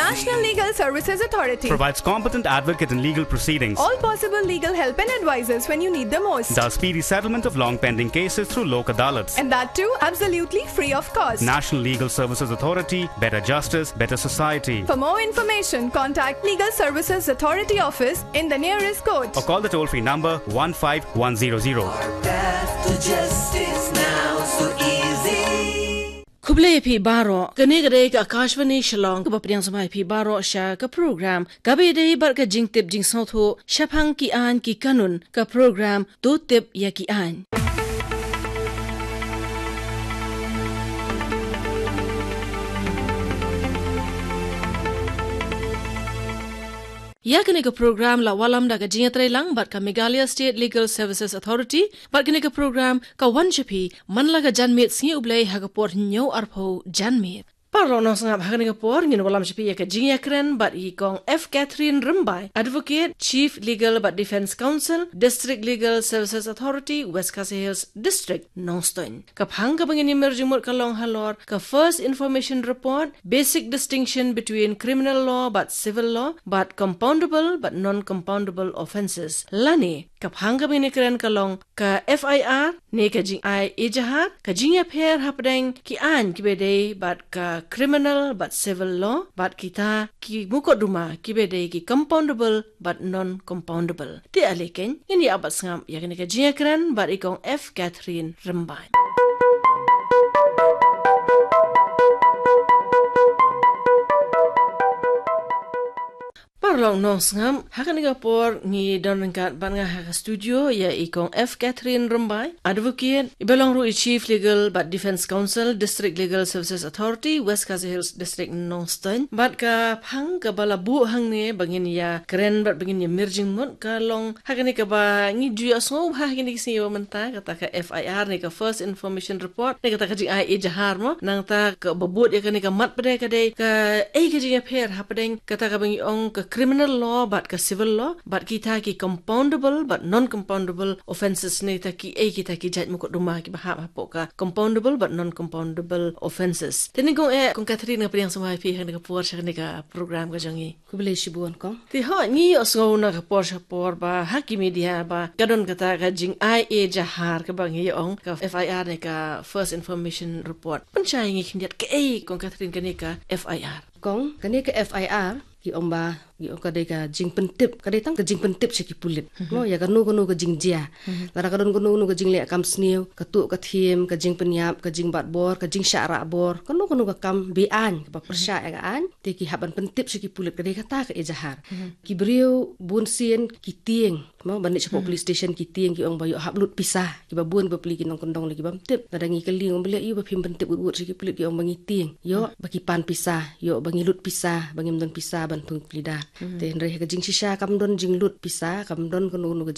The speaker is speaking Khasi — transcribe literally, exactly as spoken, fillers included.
National Legal Services Authority provides competent advocate in legal proceedings. All possible legal help and advices when you need the most. Does speedy settlement of long pending cases through Lok Adalats. And that too, absolutely free of cost. National Legal Services Authority, better justice, better society. For more information, contact Legal Services Authority office in the nearest court. Or call the toll-free number one five one zero zero. Path to justice now, so easy. Khublei ïa phi baroh, kane ka dei ka Akashvani Shillong, kaba pdiang sngewbha ïa phi baroh sha ka program kaba ïadei bad ka jingtip jingsngewthuh shaphang ki aiñ ki kanun, ka program To Tip ïa ki Aiñ. Ïa kane ka program la wallam da ka jingïatreilang bad ka Meghalaya State Legal Services Authority, bad kane ka program ka wan sha phi man la ka janmiet sngi U Blei ha ka por hynñiew arphew janmiet. Paralok nongsngap, ha kane ka por ngin wallam sha phi ïa ka jingïakren bad i Kong F Catherine Rymbai, Advocate, Chief Legal bad Defence Counsel, District Legal Services Authority, West Khasi Hills District, Nongstoiñ. Ka phang kaba ngin ïa mir jingmut ka long halor ka First Information Report, basic distinction between criminal law bad civil law, bad compoundable bad non-compoundable offences. Lane, ka phang kaba ngin ïakren ka long ka F I R, ne ka jingai ejahar, ka jingïapher hapdeng ki aiñ kiba dei bad ka criminal bad civil law, bad kita ki mukotduma kiba dei ki compoundable bad non-compoundable. Te ale keiñ, ngin ïa bat sngap ïa kane ka jingïakren bad i Kong F Catherine Rymbai. Paralok nongsngap, ha kane ka por ngi don ryngkat bad nga ha ka studio ïa i Kong F Catherine Rymbai, Advocate, iba long ruh i Chief Legal bad Defence Counsel, District Legal Services Authority, West Khasi Hills District, Nongstoiñ. Bad ka phang kaba la buh hangne ba ngin ïakren bad ba ngin ïa mir jingmut ka long ha kane kaba ngi ju ïohsngew bha ha kine ki sngi ba mynta, kata ka F I R ne ka First Information Report, ne kata ka jingai ejahar mo, nangta kaba bud ïa kane ka mat pat ka dei kaei ka jingïapher hapdeng kata kaba ngi ong ka criminal law bad ka civil law, bad kita ki compoundable bad non-compoundable offences, ne kita kiei kita ki jait mukotduma kiba hap hapoh ka compoundable bad non-compoundable offences. Te nyngkong eh, Kong Catherine, nga pdiang sngewbha ïa phi ha kane ka por sha kane ka program ka jong ngi. Khublei shibun, Kong. Te hooid, ngi ïohsngew na ka por sha por ba ha ki media ba ka don kata ka jingai ejahar kaba ngi ong ka F I R ne ka First Information Report. Pynshai ïa ngi khyndiat kaei, Kong Catherine, kane ka F I R. Kong, kane ka F I R, ki ong ba, ki ong ka dei ka jingpyntip, ka dei tang ka jingpyntip sha ki pulit. Mhm. Mo, ïa kano kano ka jingjia. Mhm. Lada ka don kano kano ka jingleh kam sniew, ka tuh ka thiem, ka jingpynïap, ka jingbat bor, ka jingshah rah bor, kano kano ka kam be-aiñ kaba pyrshah ïa ka aiñ, te ki hap ban pyntip sha ki pulit, ka dei kata ka ejahar. Mhm. Ki briew bunsien ki tieng, mo, ban leit shapoh police station ki tieng, ki ong ba ïoh hap lut pisa, kiba bun bapli ki nongkyndong lei ki bym tip. Lada ngi kylli ong ba leh ïa ba phim pyntip wut wut sha ki pulit, ki ong ba ngi tieng, ïoh ba ki pan pisa, ïoh ba ngi lut pisa, ba ngim don pisa ban thung plie da. Mhm. Te hynrei ha ka jingshisha kam don jinglut pisa, kam don kano kano ka